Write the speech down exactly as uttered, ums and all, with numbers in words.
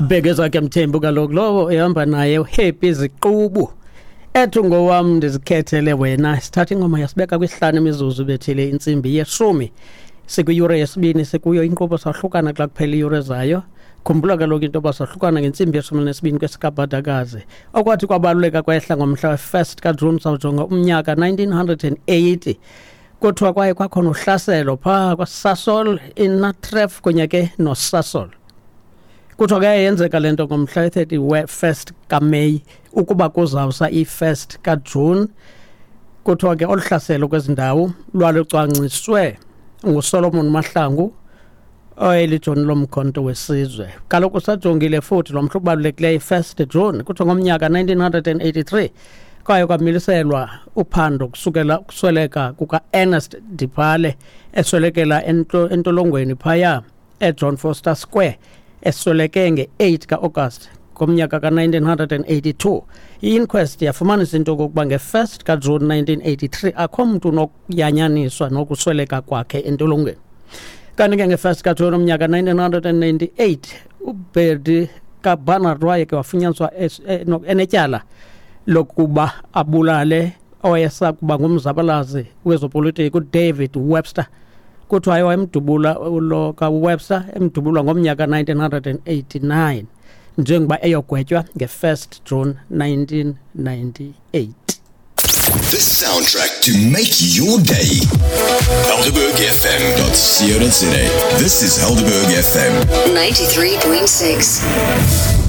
Bheke Mthembu kaloku lowo ehamba naye uHappy Ziqubu ethi ngowam ndizikhethele wena. Sithatha ingoma yasibeka kwisihlanu imizuzu bethile intsimbi yeshumi, sikwiyure yesibini sikuyo inkqubo. Sahlukana xa kuphela iyure zayo. Khumbula kaloku into yoba sahlukana ngentsimbi yeshumi nesibini kwesikabhadakazi. Okwathi kwabaluleka kwehla ngomhla we-first kaJuni, sawujonga umnyaka nineteen hundred and eighty, kuthiwa kwaye kwakhona uhlaselo phaa kwaSasol, iNatref kunye ke noSasol. Kuthiwa ke yenzeka le nto ngomhla we-thirty first kaMeyi ukuba kuzawusa i-first kaJuni. Kuthiwa ke olu hlaselo kwezi ndawo lwalucwangciswe nguSolomon Mahlangu oyelijoni lomkhonto wesizwe. Kaloku sajongile futhi lo mhla ubalulekileyo, i-first June, kuthiwa ngomnyaka nineteen hundred and eighty-three kwaye kwamiliselwa uphando kusukela ukusweleka kuka-Ernest Dipale eswelekela entolongweni phaya eJohn Foster Square, esweleke nge-eight ka-August ngomnyaka ka-nineteen hundred and eighty-two. I-inquest yafumanisa into okokuba nge-first kaJune nineteen eighty-three akho mntu unokuyanyaniswa nokusweleka kwakhe entolongweni. Kanti ke nge-first kaJune umnyaka nineteen hundred and ninety-eight uBertie kaBarnard waye ke wafunyaniswa enetyala lokuba abulale owayesakuba ngumzabalazi wezopolitiko uDavid Webster. Kuthiwa wayemdubula lo kaWebster, emdubulwa ngomnyaka nineteen hundred and eighty-nine njengoba eyogwetywa nge-first June nineteen ninety-eight. The soundtrack to make your day. Helderberg F M dot co dot za. This is Helderberg F M ninety-three point six.